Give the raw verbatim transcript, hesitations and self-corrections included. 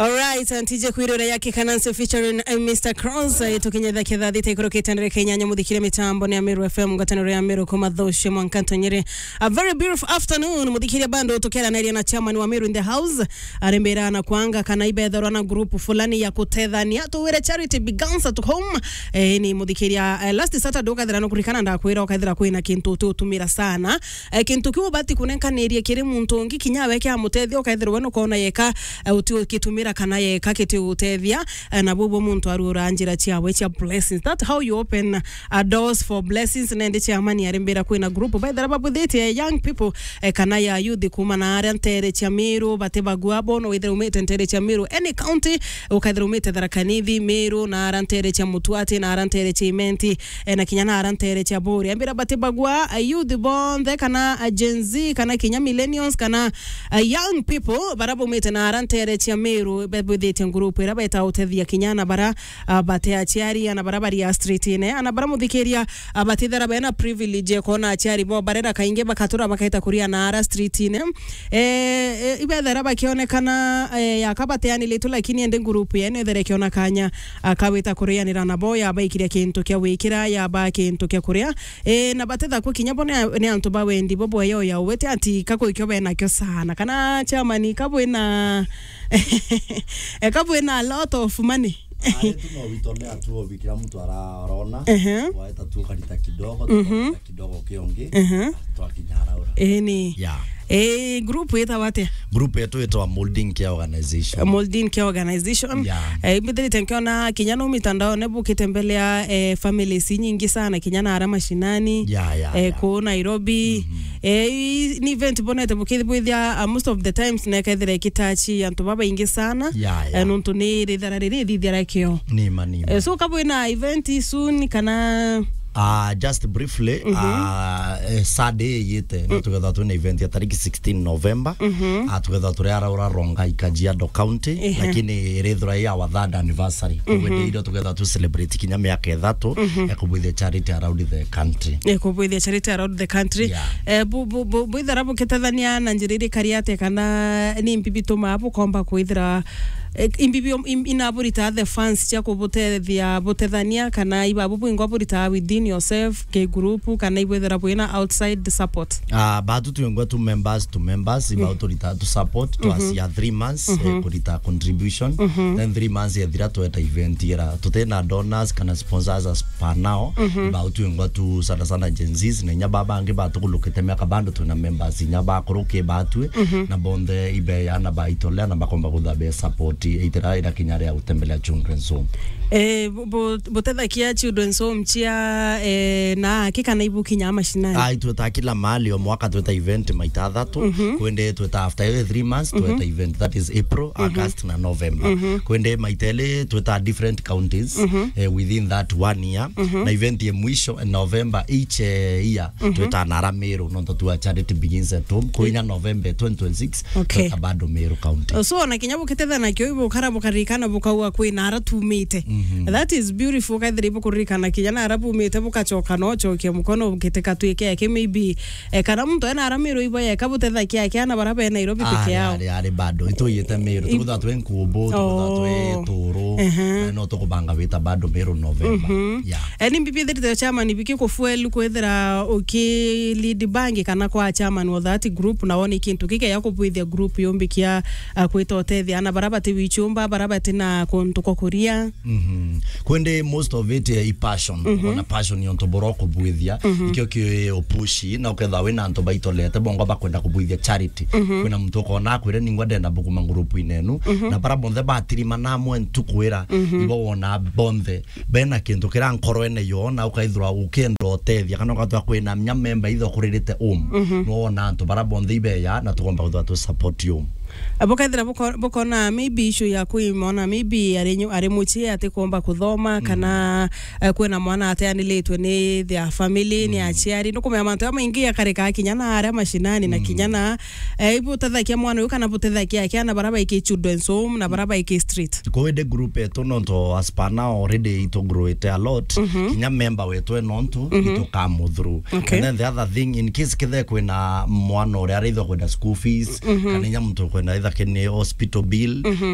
Alright, and T J Kwirore ya Kikanansi featuring, uh, Mister Cross, uh, tukinyetha kithathi ta ikurukite ndere Kenya, nyamuthikiria mitambo ni Ameru F M, ngwataniro ya Ameru kuma Thoshe mwanka Ntonyere. A very beautiful afternoon, muthikiria bando tukiaraniria na chairman wa Meru in the house, arembera na kwanga kana ibethorwa na group fulani ya kutethania, tuwire charity begins at home. Eh, ni muthikiria, eh, last Saturday ukathira no kurikana ndakwira ukathira kwina kintu uti utumira sana. Eh, kintu kiu ubati kunenkaniria kiri muntu ungi kinya we kiamutethia, ukethirwa we nukona yeka, eh, uti ukitumira kana yeka kiti utethia, eh, na bubu muntu arura njira ciawe cia blessings. That's how you open, uh, doors for blessings. Nende chairman arimbira kwina group baithira babuthitie young people, eh, kana ya youth kuma na aria ntere cia Meru, bati bagua bono withira umite ntere cia Meru, any county, ukethira umite Tharaka Nithi, Meru, na aria ntere cia Mutuati, na aria ntere cia Imenti, eh, na kinya na aria ntere cia Buri. Ambira bati bagua, eh, youth bonthe, kana, eh, Gen Z, kana kinya millennials, kana, eh, young people, bara baumite na aria ntere cia Meru, be-, bwithitie group ira beta utethia kinya na bara, ah, bate aciari, ana bara bari a street-ine, ana bara muthikiria, ah, batithera bena privilege ya kuona aciari bo barera kaingi bakatura bakaita kuria na ara street-ine. Eh, eh, ibethera bakionekana, eh, yaka bateanilitwe, lakini ende group yene ethera ikiona kanya, ah, kawita kurianira nabo, yabaikiria kintu kia wikira, yaba kintu kia kuria. Eh, na batethakwa kinya bo ni, ni antu ba wendi bo bweyo ya uwete ati kakwi kio benakio sana. Kana chairman kabwina, eh, kabwina a lot of money. Ari tu no witolea tu obi, kila mtu ara-, araona. Ehe. Waeta tu ukarita kidogo, mhm, tukarita kidogo kiongi, ehe, twakinya araura. Eni. Yeah. Eh, group itawa atia? Group yetu itwa Molding Care Organization. Molding Care Organization. Yeah. Eh, mbithirite nkiona kinya no mitandaone bukite mbele ya, eh, families nyingi sana, kinya na ara mashinani. Yeah, yeah, eh, yeah. Kuu Nairobi. Mhm. Eh, i-, ni event bonete bukithibwithia, uh, most of the times nekethira ikitachi antu babaingi sana. Yeah, yeah. Eh, nontu ni rithara riri ithithia rakio. Nima, nima. Eh, so kabwina event soon kana? Ah, just briefly, mhm, ah, eh, Saturday yite, no, mm, tugetha twina event ya tariki sixteen November. Mhm. Ah, tugetha turi araura Rongai, Kajiado County, ehe, lakini irithira ya our third anniversary. Mhm. Koguo ni irio tugetha tu celebrate kinya miaka ithatu, mhm, ya kubwithia charity around the country. Eh, kubwithia charity around the country. Yeah. Eh, bu-, bu-, bu-, bwithira bukitethania na njira irikari atia kana ni mbi bituma bukomba kwithira, eh, imbi bio-, im-, inaburita the funds cia kubutethia butethania kana ibabu bwingwa burita within yourself, ki group, kana ibwithira bwina outside support? Ah, batu twingwa tu members to members, iba, mhm, turita tu support, mhm, twacia three months, eh, mhm, kurita contribution. Mhm. Then three months yethira tweta event ira. Tutina donors kana sponsors as per now. Mhm. Iba twingwa tu sana sana Gen Zs, na inya baba bangi batukulukite miaka bado twina members inya bakuruki batwi, mhm, na bonthe ibeya na baitolea na bakomba kutha be support itira ira kinya ria gutembelea children's home. Eh, bu-, bu-, butethakia children's home chia, eh, na aki kana ibu kinya mashinani? Ai, tweta kila mahali, o mwaka tweta event maita athatu. Mhm. Kwende tweta after every three months, mhm, tweta event, that is April, mhm, August na November. Mhm. Kwende maita eli tweta different counties, mhm, eh, within that one year. Mhm. Na event ya mwisho, eh, November each, eh, year, mhm, tweta na ara Meru, nontu tua charity begins at home. Kuinya November twenty twenty-six, okay, tweta bado Meru County. So, na kinya bukitethana nakio, ibukara bukaririkana bukaua kwina ara tumite. Mhm. That is beautiful, kaithira ibukuririkana kinya na ara bumite, bukachoka no chokia mukono, bukiteka twike yake maybe, eh, kana muntu ena ara Meru ibo yeka butethakia yake ana bara be Nairobi peke yao. Ari, ari, ari bado. Ituyite Meru, i- tukutha twi nkumbu, tukutha twi, oh, turu, ehe, na no tukubanga wita bado Meru November. Mhm. Yeah. Eh, ni mbi bithirite chairman biki kufuel kwithira uki lead bangi kana kwa chairman wa that group, na woni kintu kikeya kubwithia group yumbikia, ah, kwita utethia ana bara bati wichumba, bara bati na kuntu kwa kuria. Mhm. Kwende most of it, eh, i passion. Mhm. Ona passion yonto boro kubwithia, mhm, ikio ki upushi, na uketha wina antu baitolete, bongo bakwenda kubwithia charity. Mhm. Kwina muntu ukona akwire ningwa ndenda bukuma group inenu, mhm, na bara bonthe batirima namwe ntukwira, mhm, ibo wona bonthe bena kintu kira nkoroene yo, na ukaithirwa ukienda utethia, kana ukathirwa kwina nya member itho kuririte um. Mhm. No wona antu bara bonthe ibeya, na tukomba kuthirwa tu support um. Bukethira buko-, bukona maybe issue ya kwimona, maybe ari nyu-, ari muchie atikomba kuthoma, mm, kana, eh, kwina mwana ateanilitwe ni their family, ni, mm, aciari. Nukumenya mantu jamaingi jakarika kinya na aria mashinani na, mm, kinya na, eh, ibutethakia mwana uyu kana butethakia akiana bara baiki children's home na bara baiki street. Covid group yetu nontu as per now already itugrowete a lot. Mhm. Kinya member wetu e nontu, mhm, itukamuthuru. Okay. And then the other thing, in case kithe kwina mwana uria arithwa kwenda school fees, mhm, kana inya muntu kwenda itha kini hospital bill, mhm,